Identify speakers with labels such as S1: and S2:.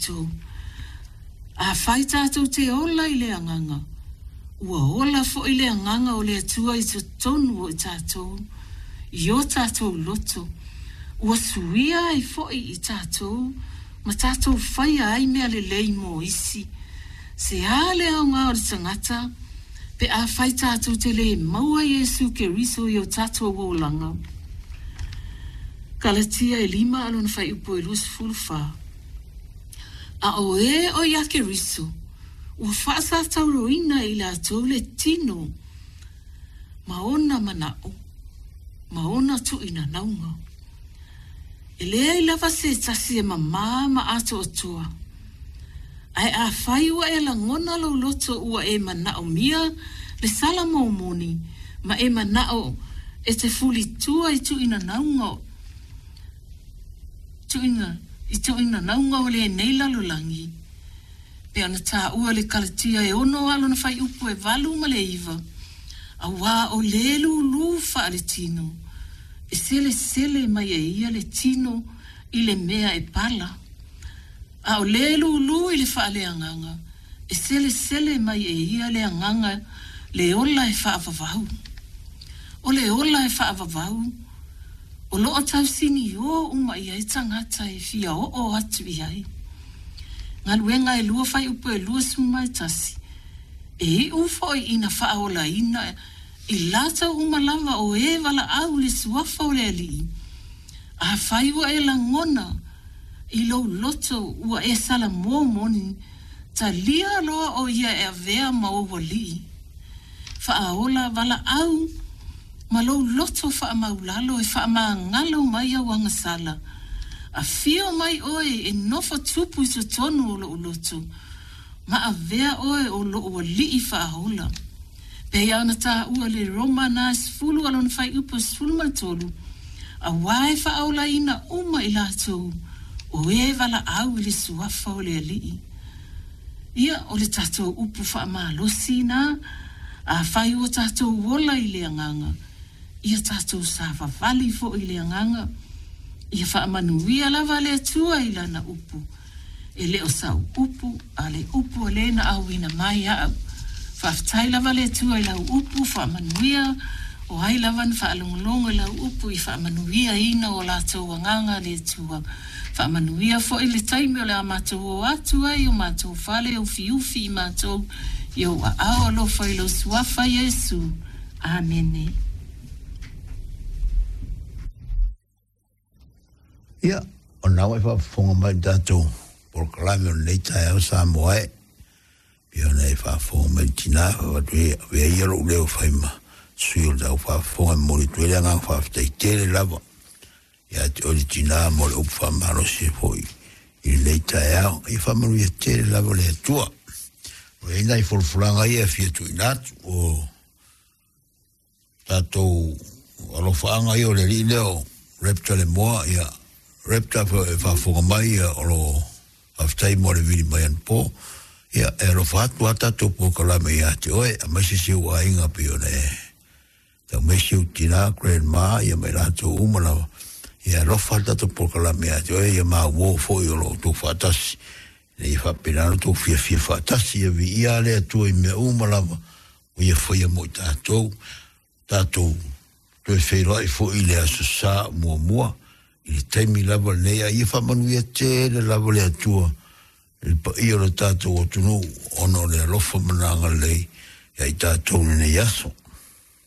S1: tatou. Afai tatou te ola i le Agaga, ua ola foi le Agaga o le Atua i totonu o i tatou, i o tatou loto, ua suia ai foi i tatou ma tatou faia ai mea lelei mo isi. Se a le aoga o le tagata pe afai tatou te le maua Iesu Keriso i o tatou olaga? Kalatia e lima a lona fuaiupu e 24. A o e o ia Keriso, ua faasatauroina e i latou le tino ma ona manao ma ona tuuinanauga. E leai lava se tasi e mamā ma atoatoa. Ae afai ua e lagona lou loto ua e manaomia le sala momoni ma e manao e te fulitua i tuuinanauga tuuina i tuuinanauga o lenei lalolagi, pei ona taua le Kalatia e ono a lona fuaiupu e valu ma le iva, auā o le lūlū faaletino, e selesele mai e ia le tino i le mea e pala. A o le lūlū i le faaleagaga, e selesele mai e ia le agaga le ola e faavavau. O le ola e faavavau, o lo o tausiniō uma i ai tagata e fia oo atu i ai. Galuega e lua fuaiupu e 21, E iu foi ina faaolaina i latou uma lava o e valaau i le suafa o le Alii, Afai ua e lagona i lou loto ua e salamo moni, talia loa ʻo ia e avea ma ou alii. Faaola valaau ma lou loto faamaulalo e faamagalo mai au agasala. Afio mai ʻoe e nofo tupu i totonu o loʻu loto, ma avea ʻoe o loʻu alii faaola. Pei ona taua le Roma na 10 a lona fuaiupu e 13, auā e faaolaina uma i latou o e valaau i le suafa o le Alii. Ia, o le tatou upu faamalosi na, afai ua tatou ola i le Agaga, ia tatou savavali foi i le Agaga, ia faamanuia lava le Atua i Lana upu. E le o sau upu, a le upu a le na auina mai aʻu. Faafetai lava le Atua i lau upu faamanuia, o ai lava na faalogologo i lau upu i faamanuiaina o latou agaga le Atua. Faamanuia foi le taimi o le a matou o atu ai i o matou fale ufiufi i matou i ou aao alofa i lou Suafa Iesu. Amene.
S2: Ia, o lena ua e faafofoga mai i le tatou polokalame o lenei taeao Samoa e. Pei ona e faafofoga mai i le tina, avatu ai, avea ia lou leo e fai ma sui o le tau faafofoga e momoli atu ai le agaga faafetai tele lava ia te oe le tina mo le upu faamalosi foi i lenei taeao. Ia faamanuia tele lava le Atua. O i ai nai folafolaga ia e fia tuuina atu o tatou alofaaga ia o le alii lea o Raptor Lemoa, ia Raptor e faafofoga mai ia o lo faafetai mo le vili mai anapo. Ia e alofa atu a tatou polokalame ia te oe, aemaise si ou aiga pei ona e tau mai si ou tina, grandma, ia ma i latou uma lava. Ia alofa le tatou polokalame ia te oe, ia maumou foi o lo outou faatasi. Ina ia faapena ona outou fiafia faatasi, ia viia le Atua i mea uma lava ua ia faia mo i tatou, tatou toe feiloai foi i le Aso Sa muamua, i le taimi lava lenei, a ia faamanuia tele lava le Atua i le paia o le tatou atunuu ona o le alofa ma le agalelei ia i tatou i lenei aso.